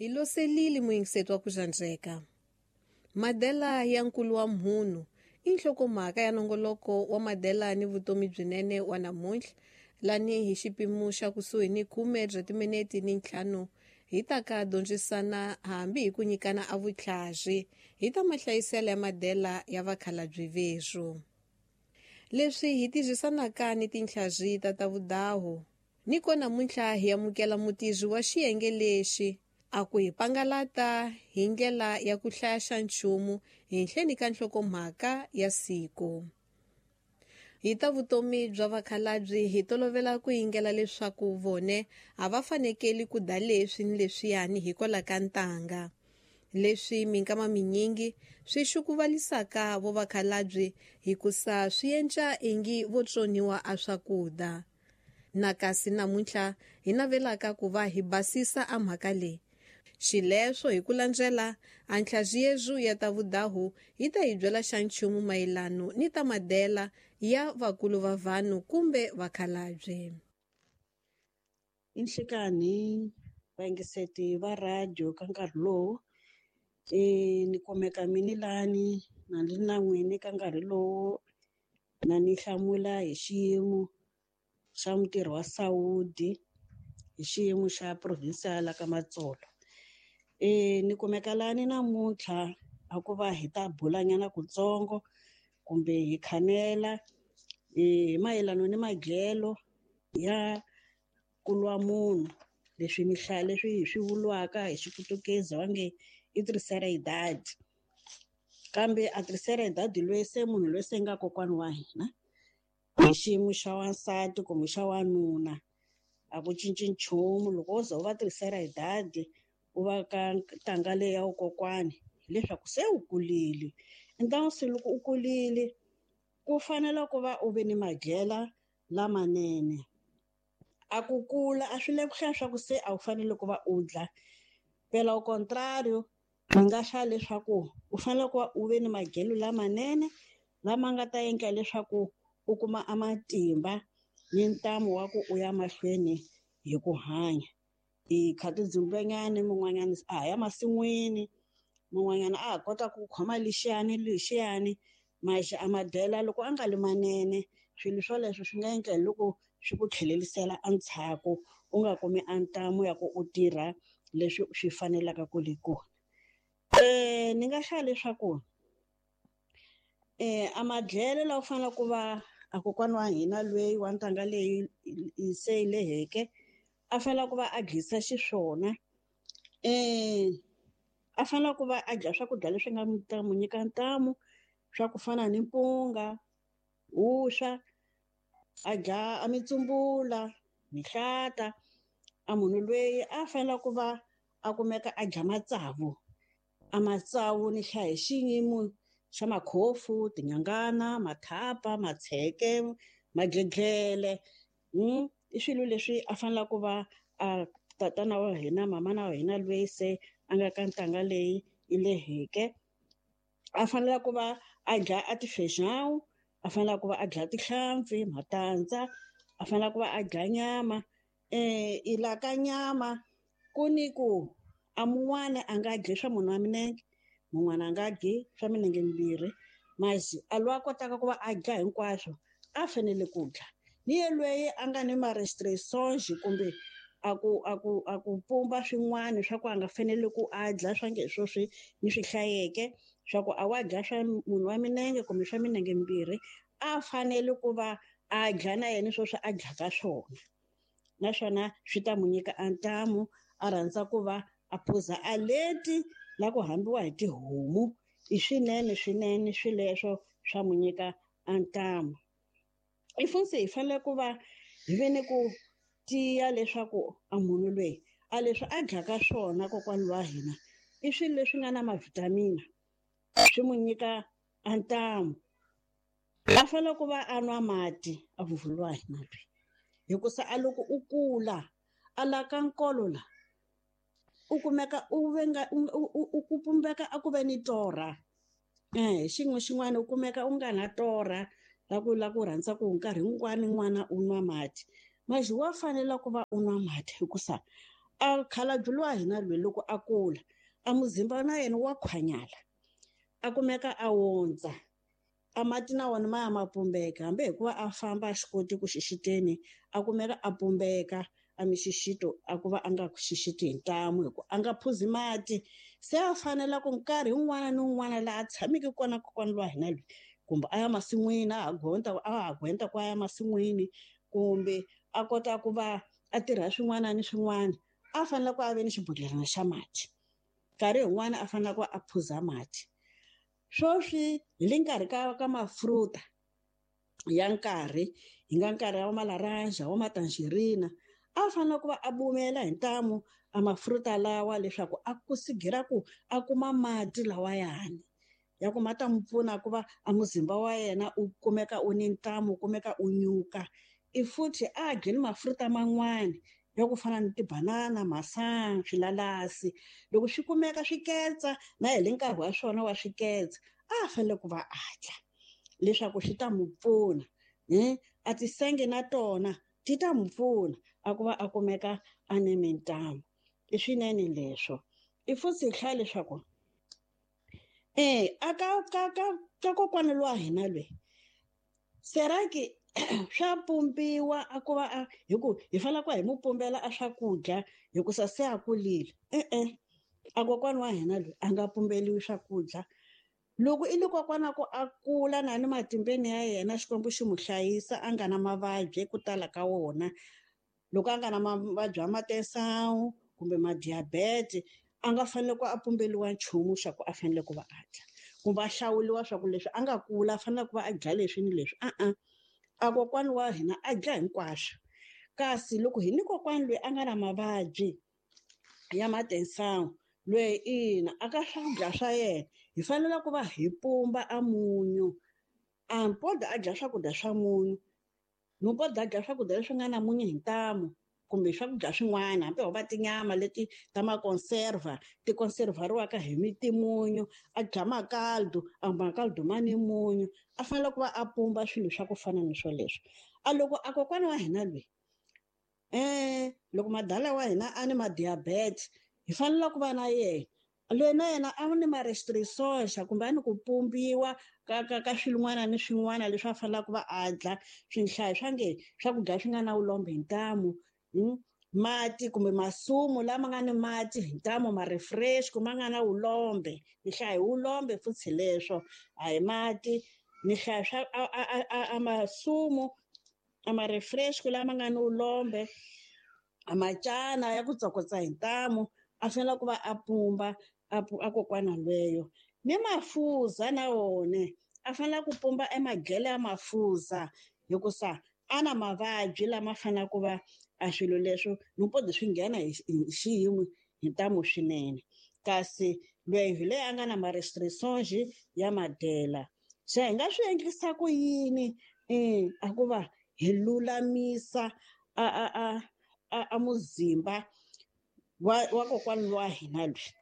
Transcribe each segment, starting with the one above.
Hi loselile muyingiseti wa ku xandzeka. Madela ya nkulu wa mhunu i nhlokomhaka ya nongoloko wa Madela ni vutomi byinene wa namuntlha lani hi xipimo xa kusuhi ni 10 bya timinete ni 5 hi ta ka dyondzisana hambi hi ku nyikana a vutlhari hi ta mahlayiselo ya Madela ya vakhalabye veswo. Leswi hi tirhisanaka ni tintlhari ta ta vudahu ni ko namuntlha hi amukela mutirhi wa xiyenge lexi a ku hi pangalata hi ndlela ya ku hlaya xa nchumu hi nhleni ka nhlokomhaka ya siku. Hi ta vutomi bya vakhalabye hi tolovela ku yingela leswaku vone a va fanekeli ku da leswi ni leswiyani hikwalaho ka ntanga. Leswi minkama minyingi swi xukuvalisaka vo vakhalabye hikusa swi endla ingi vo tsoniwa a swakudya. Na kasi namuntlha hi navelaka ku va hi basisa a mhaka leyi. Xileswo hi ku landzela a ntlhaziyezu ya ta vudahu yi ta hi byela xa nchumu mayelano ni ta madela ya vakulu va vanhu kumbe vakhalabye. I nhlikani vayingiseti va radio ka nkarhi lowu ni kumeka minilani na ni na n'wini ka nkarhi lowu na ni hlamula hi xiyimo xa mutirhi wa Saudi hi xiyimo xa provincial ka Matsolo. Ni kumeka lani namuntlha a ku va hi ta bulanyana kutsongo kumbe hi khanela hi mayelana ni madyelo ya ku lwa munhu leswi mi hlaya leswi hi swi vuriwaka hi xiputukezi va nge i terceira idade. Kambe a terceira idade loyi se munhu loyi se nga kokwana wa hina hi xiyimo xa wansati kumbe xa wanuna a ku cinci nchumu. Loko wo ze u va terceira idade u va ka ntanga leyi ya vukokwani hileswaku se u kulile. Ntanga se loko u kulile ku fanele ku va u ve ni madyela lamanene. A ku kula a swi le ku hlaya swa ku se a wu fanele ku va u dla. Phela au contrario ni nga hlaya leswaku u fanele ku va u ve ni madyelo lamanene lama nga ta endla leswaku u kuma a matimba ni ntamu wa ku u ya mahlweni hi ku hanya. Hi kha tidzumbenyana mun'wanyana a ha ya masin'wini mun'wanyana a ha kota ku khoma lexiyani lexiyani maxi a madyela loko a nga li manene swilo swoleswo swi nga endla hi loko swi ku tlhelerisela endzhaku u nga kumi a ntamu ya ku u tirha leswi swi fanelaka ku le kona. Ni nga hlaya leswaku a madyelo lawa u faneleke ku va a kokwana wa hina loyi wa ntanga leyi se yi leheke a fanele ku va a dyisa xiswona. A fanele ku va a dya swakudya leswi nga ta n'wi nyika ntamu swa ku fana ni mpunga, vuswa, a dya a mitsumbula, mihlata. A munhu loyi a fanele ku va a kumeka a dya matsavu. A matsavu ni hlaya hi xiyimo xa makhofu, tinyangana, mathapa, matsheke, madlodlele. I swilo leswi a fanele ku va a tatana wa hina, mamana wa hina loyi se a nga ka ntanga leyi yi leheke. A fanele ku va a dya a ti-feijão, a fanele ku va a dya tihlampfi, matandza, a fanele ku va a dya nyama. I la ka nyama ku ni ku a mun'wana a nga dyi swa munhu wa minenge, mun'wana a nga dyi swa minenge mimbirhi. Masi a loyi a kotaka ku va a dya hinkwaswo a fanele ku dya. Ni yelweyo a nga ni ma-restrictions kumbe a ku a ku a ku pumba swin'wana swa ku a nga fanele ku a dya swa nge swo swi ni swi hlayeke swa ku a wa dya swa munhu wa minenge kumbe swa minenge mimbirhi a fanele ku va a dya na yena sweswi a dyaka swona. Naswona swi ta n'wi nyika a ntamu a rhandza ku va a phuza a leti la ku hambiwa hi tihomu. I swinene swinene swileswo swa n'wi nyika a ntamu. I funtse hi fanele ku va hi ve ni ku tiya leswaku a munhu loyi a leswi a dyaka swona kokwana wa hina i swilo leswi nga na ma-vitamin swi n'wi nyika a ntamu. A fanele ku va a nwa mati a vuvula wa hina loyi hikusa a loko u kula a la ka nkolo la u kumeka u venga u ku pumbeka a ku ve ni torha. Xin'we xin'wana u kumeka u nga na torha la ku la ku rhandza ku nkarhi wun'wani n'wana u nwa mati. Masi wa fanela ku va u nwa mati hikusa A khalabye lowa hina loyi loko a kula a muzimba na yena wa khwanyala, a kumeka a wondza, a mati na wona ma ya ma pumbeka, hambi hikuva a famba a xi koti ku xixiteni, a kumeka a pumbeka a mixixito, a ku va a nga xixiti hi ntamu hi ku a nga phuzi mati. Se a fanela ku nkarhi wun'wana ni wun'wana laha a tshameke kona kokwana lowa hina loyi, kumbe a ya masin'wini, a ha gonda, a ha gwenta ku a ya masin'wini, kumbe a kota ku va a tirha swin'wana ni swin'wana, a fanele ku a ve ni xibodhlelana xa mati. Nkarhi wun'wana a fanele ku a phuza mati. Sweswi hi le nkarhi ka mafruta ya nkarhi, hi nga nkarhi wa malaranja, wa matangerina, a fanele ku va a bumela hi ntamu a mafruta lawa leswaku a kusigira ku a kuma mati lawayani ya ku ma ta n'wi pfuna ku va a muzimba wa yena u kumeka u ni ntamu, u kumeka u nyuka. I futhi a dye ni mafruta man'wani ya ku fana ni tibanana, masangu, swilalasi. Loko swi kumeka swiketsa na hi le nkarhi wa swona wa swiketsa, a fanele ku va a dya leswaku swi ta n'wi pfuna. A tisenge na tona ti ta n'wi pfuna a ku va a kumeka a ni mintamu. I swinene leswo. I futhi hi hlaya leswaku a ka ka ka ka kokwana lowa hina loyi seraki swa pumbiwa a ku va a hi ku hi fanele ku hi mu pumbela a swakudya hikusa se a kulile. E-e, a kokwana wa hina loyi a nga pumbeliwi swakudya. Loko i le kokwana ku a kula na ni matimbeni ya yena, Xikwembu xi mu hlayisa a nga na mavabyi ku tala ka wona. Loko a nga na mavabyi ya matesawu kumbe madiabete, a nga fanele ku a pumbeliwa nchumu xa ku a fanele ku va a dya, kumbe a hlawuliwa swa ku leswi a nga kula a fanele ku va a dya leswi ni leswi. A-a, a kokwana wa hina a dya hinkwaswo. Kasi loko hi ni kokwana loyi a nga na mavabyi ya matensawu, loyi ina a ka swakudya swa yena hi fanele ku va hi pumba a munyu. A mpodza a dya swakudya swa munyu, mpodza a dya swakudya leswi nga na munyu hi ntamu, kumbe swakudya swin'wana, hambi ho va tinyama leti ta makonserva ti konservariwaka hi mitimunyu, a dya makaldu, a makaldu ma ni munyu, a fanele ku va a pumba swilo swa ku fana ni swoleswo. A loko a kokwana wa hina loyi, loko madala wa hina a ni madiabete, hi fanele ku va na yena loyi na yena a ni ma-restrictions kumbe a ni ku pumbiwa ka ka ka swin'wana ni swin'wana leswi a faneleke ku va a dya. Swinhlayo swa nge swakudya swi nga na vulombe hi ntamu, mati kumbe masumu lama nga ni mati hi ntamu, ma-refresh ku ma nga na vulombe. Ni hlaya hi vulombe futhi leswo, a hi mati. Ni hlaya swa a masumu, a ma-refresh lama nga ni vulombe, a macana ya ku tsokotsa hi ntamu, a fanele ku va a pumba a kokwana lweyo. Ni mafuza na wona a fanele ku pumba emadyelo ya mafuza, hikusa a na mavabyi lama faneleke ku va a swilo leswo nimpodi swi nghena hi xiyimo hi ntamu swinene. Kasi loyi hi leyi a nga na ma-restrictions ya madyela. Se hi nga swi endlisa ku yini a ku va hi lulamisa a muzimba wa kokwana wa hina loyi?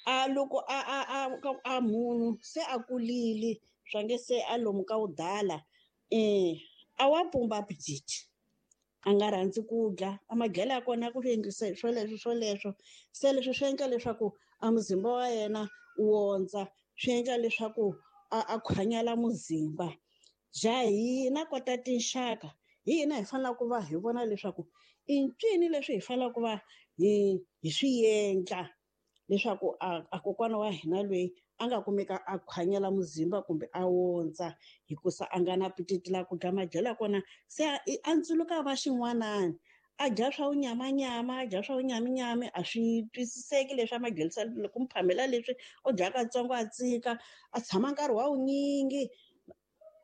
A loko a munhu se a kulile, swa nge se a lomu ka wudala, a wa pumba appetite, a nga rhandzi ku dya, a madyelo ya kona ku endlisa swoleswo swoleswo. Se leswi swi endla leswaku a muzimba wa yena wu wondza, swi endla leswaku a khwanyala muzimba. Ja hina kota tinxaka, hi hina hi faneleke ku va hi vona leswaku i ncini leswi hi faneleke ku va hi swi endla leswaku a kokwana wa hina loyi a nga kumeka a khwanyela muzimba kumbe a wondza, hikusa a nga na appetite la ku dya madyelo ya kona. Se a ntsuluka va xin'wanani, a dya swa vunyamanyama, a dya swa vunyaminyami, a swi twisiseki leswi a madyelisa ku mu phamela leswi, u dya katsongo a tsika, a tshama nkarhi wa wunyingi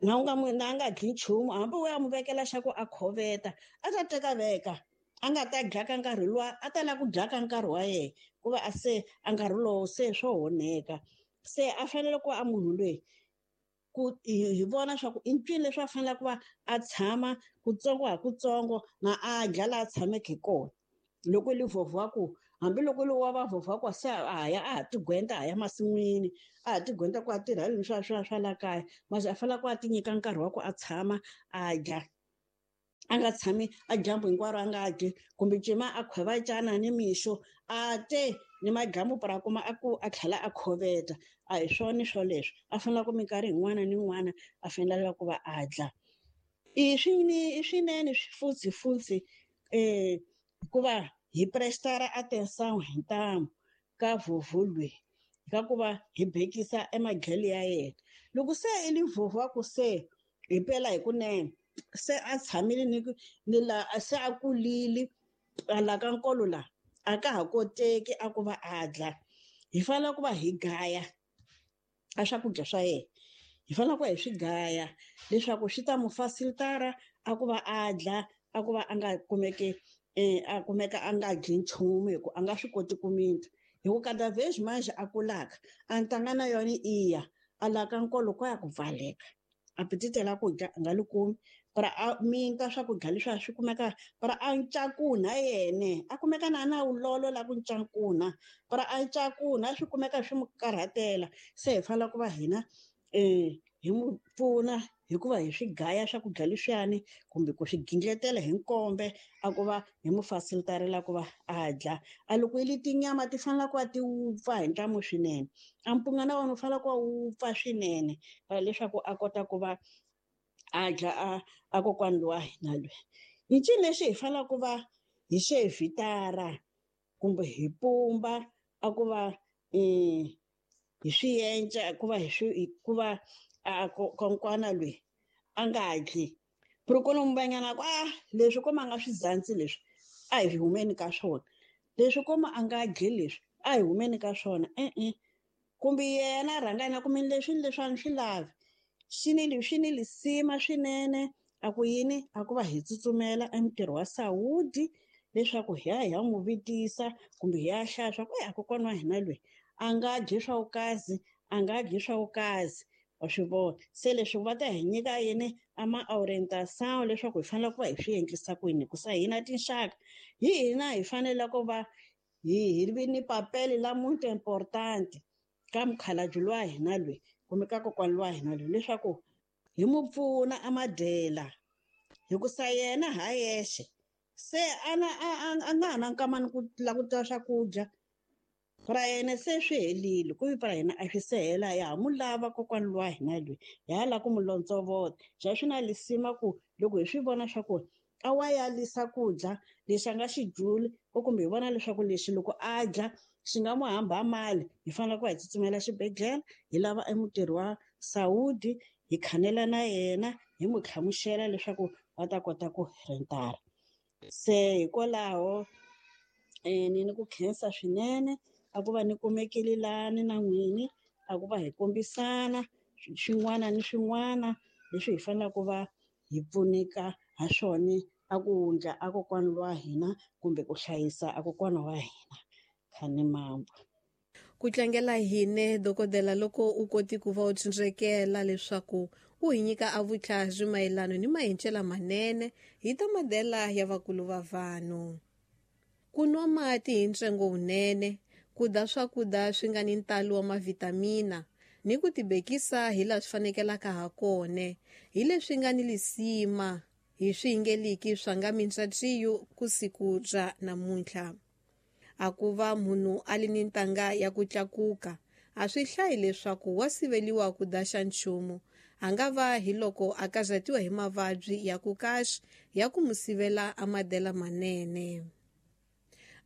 na u nga mu, na a nga dyi nchumu, hambi u ya mu vekela xa ku a khoveta, a ta teka veka, a nga ta dya ka nkarhi luwa, a ta lava ku dya ka nkarhi wa yena, ku va a se a nkarhi lowo se swo honeka. Se a fanele ku va a munhu loyi ku hi vona swa ku i ncini leswi a faneleke ku va a tshama kutsongo ha kutsongo na a dya laha a tshameke hi kona. Loko li vhovha ku, hambiloko li wa va vhovha ku se a ya a ha tigwenta, a ya masin'wini, a ha tigwenta ku a tirha leswi swa swa swa la kaya, mase a fanele ku a ti nyika nkarhi wa ku a tshama a dya. A nga tshami a dyambu hinkwaro a nga dyi, kumbe cima a khwevacana ni mixo a te ni madyambu para kuma a ku a tlhela a khoveta. A hi swona swoleswo, a fanele ku minkarhi yin'wana ni yin'wana a fanele ku va a dla. I swinene futhi futhi hikuva hi prestara atenção hi ntamu ka vhovho loyi, ka ku va hi bekisa emadyelo ya yena. Loko se i li vhovho wa ku se hi pela hi kunene, se a tshamile ni la se a kulile a la ka nkolo la a ka ha koteki a ku va a dla, hi fanele ku va hi gaya a swakudya swa yena. Hi fanele ku va hi swi gaya leswaku swi ta mu facilitara a ku va a dla, a ku va a nga kumeki a kumeka a nga dyi nchumu hi ku a nga swi koti ku minta. Hi ku kada vez mais a kulaka a ntanga na yona iya a la ka nkolo ko ya ku pfaleka, apetite la ku dya a nga li kumi, para a minta swakudya leswi a swi kumeka, para a ncakunha yene a kumeka na na wulolo la ku ncakunha, para a ncakunha swi kumeka swi mu karhatela. Se hi fanele ku va hina hi mu pfuna hikuva hi swi gaya swakudya leswiyani kumbe ku swi gingletela hi nkombe a ku va hi mu facilitarela ku va a dla. A loko yi li tinyama ti fanele ku va ti wupfa hi ntamu swinene, a mpunga na wona wu fanele ku va wupfa swinene leswaku a kota ku va a dla a kokwani lowa hina loyi. Hi ncini lexi hi fanele ku va hi xe vitara kumbe hi pumba a ku va hi swi enca ku va hi swi ku va a konkwana loyi a nga dli. Prokolo mbanyana ku a leswi koma a nga swi zantsi leswi a hi humeni ka swona, leswi koma a nga dli leswi a hi humeni ka swona. E-e, kumbe yena a rhanga yena kumbe leswi ni leswi a ni swi lavi, swi ni lisima swinene. A ku yini a ku va hi tsutsumela entirho wa Saudi leswaku hi ya hi ya n'wi vitisa kumbe hi ya hlaya swa ku a kokwana wa hina loyi a nga dyi swa vukazi, a nga dyi swa vukazi. Wa swi vona se leswi va ta hi nyika yini a ma orientation leswaku hi fanele ku va hi swi endlisa ku yini, hikusa hina tinxaka hi hina hi fanele ku va hi vi ni papele la muito importante ka mukhalabye lowa hina loyi kumbe ka kokwana lowa hina loyi leswaku hi mu pfuna a madyela, hikusa yena ha yexe se a na a nga ha na nkamani ku la ku twa swakudya ra yena se swi helile, ku para hina a swi se hela, ya ha mu lava kokwana lowa hina loyi, ya ha lava ku mu lontsovota. Xa swi na lisima ku loko hi swi vona swa ku a wa yalisa ku dya lexi a nga xi dyuli, kumbe hi vona leswaku lexi loko a dya xi nga mu hamba mali, hi fanele ku va hi tsutsumela xibedhlele, hi lava emutirhi wa Saudi, hi khanela na yena, hi mu hlamusela leswaku va ta kota ku rentara. Se hikwalaho ni ku khensa swinene a ku va ni kumekile lani na n'wini, a ku va hi kombisana swin'wana ni swin'wana leswi hi faneleke ku va hi pfuneka ha swona a ku wundla a kokwana wa hina kumbe ku hlayisa a kokwana wa hina. Khani mambo. Ku tlangela hine dokodela loko u koti ku va u tsindzekela leswaku u hi nyika a vutlhari mayelana ni mahencela manene hi ta madela ya vakulu va vanhu. Ku nwa mati hi ntsengo wunene, ku dya swakudya swi nga ni ntalo wa mavitamina ni ku tibekisa hi laha swi fanekelaka ha kona, hi leswi nga ni lisima hi swiyingeliki swa nga mintshatsiyo ku siku ra namuntlha. A ku va munhu a li ni ntanga ya ku tlakuka a swi hlayi leswaku wa siveliwa ku dya xa nchumu, a nga va hi loko a kazatiwa hi mavabyi ya ku kahle ya ku mu sivela a madela manene.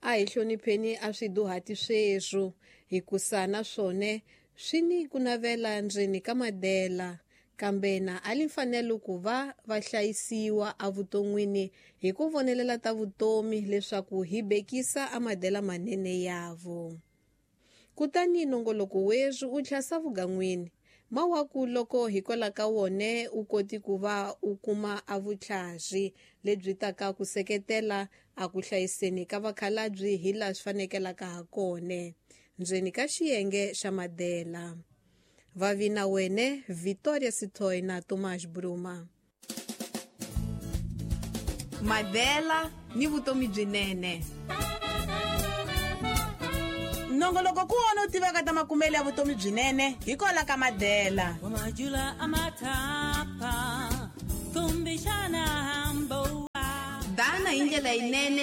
A hi hlonipheni a swiduhati sweswo hikusa na swona swi ni ku navela ndzeni ka madela, kambe na a li mfanelo ku va va hlayisiwa evuton'wini hi ku vonelela ta vutomi leswaku hi bekisa a madela manene yavo. Kutani nongoloko weswi u tlhasa vugan'wini mawaku loko hikwalaho ka wona u koti ku va u kuma a vutlhari lebyi taka ku seketela a ku hlayiseni ka vakhalabye hi laha swi fanekelaka ha kona ndzeni ka xiyenge xa madela. Vavina wene Victoria Sithoi na Tomás Bruma. Madela ni vutomi byinene. Nongoloko ku wona u tivaka ta makumelo ya vutomi byinene hikwalaho ka Madela. Majula amathapa kumbexana hambo. Tirhana hi ndlela yinene.